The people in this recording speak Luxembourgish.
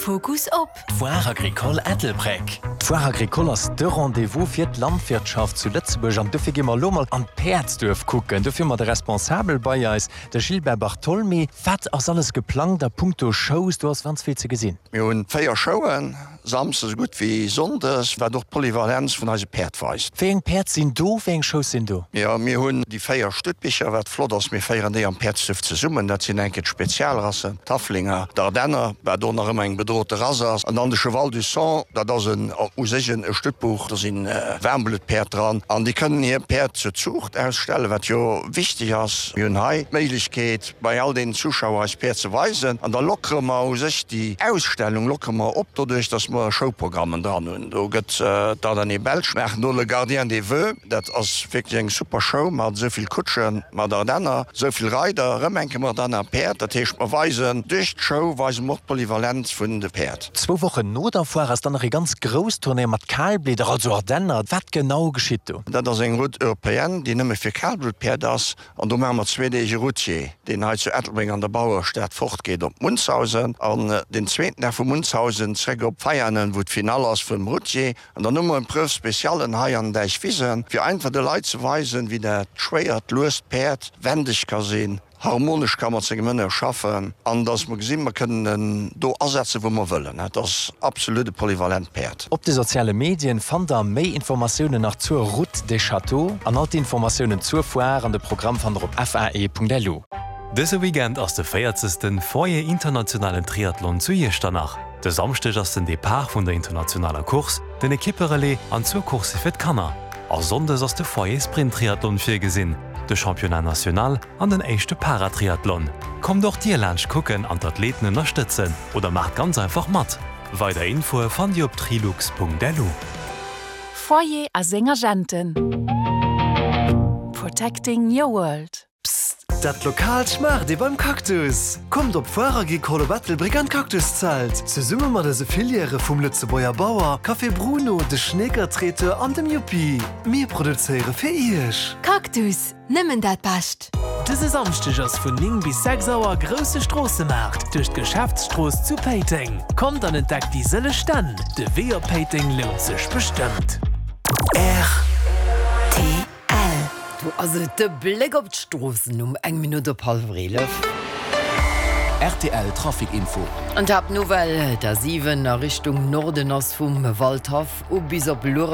Fokus op. D'Foire Agricole Ettelbréck. D'Foire Agricole ass de Rendez-vous fir d'Landwirtschaft zu Lëtzebuerg an dofir gi mer elo mol an d'Päerdsduerf kucken. Dofir hu mer de Responsabel bei eis, de Gilbert Bartholmy. Wat ass alles geplangt a punkto Shows? Do ass ganz vill ze gesinn. Mir hunn 4 Showen, Samsdes esou gutt wéi Sonndes, wat och d'Polyvalenz vun eise Päerd weist. Wéi eng Päerd sinn do? Wéi eng Shows sinn do? Jo, mir hunn déi 4 Stuttbicher, wat flott ass, mir féieren déi am Päerdsduerf zesummen. Dat sinn eng Kéier d'Spezialrassen, d'Haflinger, d'Ardenner, wat och nach ëmmer eng bedrote Rass ass, an dann de Cheval du Sang, dat ass en u sech e Stuttbuch, do si Waarmbluttpäerd dran an déi kënnen hir Päerd zur Zuucht ausstellen, wat jo wichteg ass. Mir hunn hei d'Méiglechkeet, bei all deenen Zuschauer eis Päerd ze weisen an da lockere mer u sech déi Ausstellung lockere mer op doduerch, dass mer Showprogrammen dran hunn. Do gëtt d'Ardennais Belge maachen do Le Gardien des Voeux, dat ass wierklech eng super Show mat esou vill Kutschen, mat Ardenner, esou vill Reider, erëm eng Kéier mat Ardenner Päerd. Dat heescht mer weisen duerch d'Show weise mer och d'Polyvalenz vun de Päerd. Zwou Wochen no der Foire ass dann nach ee ganz grousst Turnéier mat Kalblieder, also Ardenner. Wat genau geschitt do? Dat ass eng Route européenne, déi nëmme fir Kalbluttpäerd ass. An do maache mer zwee Deeg e Routier, deen hei zu Ettelbréck an der Bauerestad fortgeet op Munzhausen an den zweeten Dag vu Munzhausen zréck op Veianen, wou d'Finall ass vum Routier. An dann hu mer Épreuve spéciallen hei an den Däichwisen, fir einfach de Leit ze weisen, wéi dat schwéiert, luest Päerd wendeg ka sinn, harmonesch ka mat sengem Hënner schaffen an dass mer gesinn, mer kënnen en do asetzen, wou mer wëllen. Dat ass absolut e polyvalent Päerd. Op de soziale Medien fannt der méi Informatiounen nach zur Route des Châteaux an all d'Informatiounen zur Foire an de Programm fannt der op fae.lu. Dëse Weekend ass de véierzegsten Foyer Internationalen Triathlon zu Iechternach. De Samschdeg ass den Depart vun der internationaler Course, den Ekipperelais an zwou Coursse fir d'Kanner. A Sonndes ass de Foyer Sprint Triathlon virgesinn, de Championnat National an den éischte Paratriathlon. Kommt och dir laanscht kucken an d'Athleten ënnerstëtzen oder maacht ganz einfach mat! Weider Infoe fannt dir op trilux.lu. Foyer a seng Agenten. Protecting your world. Psst! Dat Lokaalt schmaacht ee beim Cactus! Kommt op d'Foire Agricole op Ettelbréck an d'Cactuszelt! Zesumme mat eise Filièrë vum Lëtzebuerger Bauer, Café Bruno, de Schneeker Traiteur an dem Yuppi. Mir produzéiere fir Iech! Cactus, Nëmmen dat Bescht! Dëse Samschdeg ass vun 9 bis 6 Auer grousse Stroossemaart duerch d'Geschäftsstrooss zu Péiteng. Kommt an entdeckt déi sëlleg Stänn. De Wee op Péiteng lount sech bestëmmt. Rtl. Do ass et de Bléck op d'Stroossen um eng Minutt op hallwer 11. Rtl Trafic Info. An d'Haaptnouvelle, d'A 7 a Richtung Norden ass vum Waldhaff u bis op Luerenzweiler.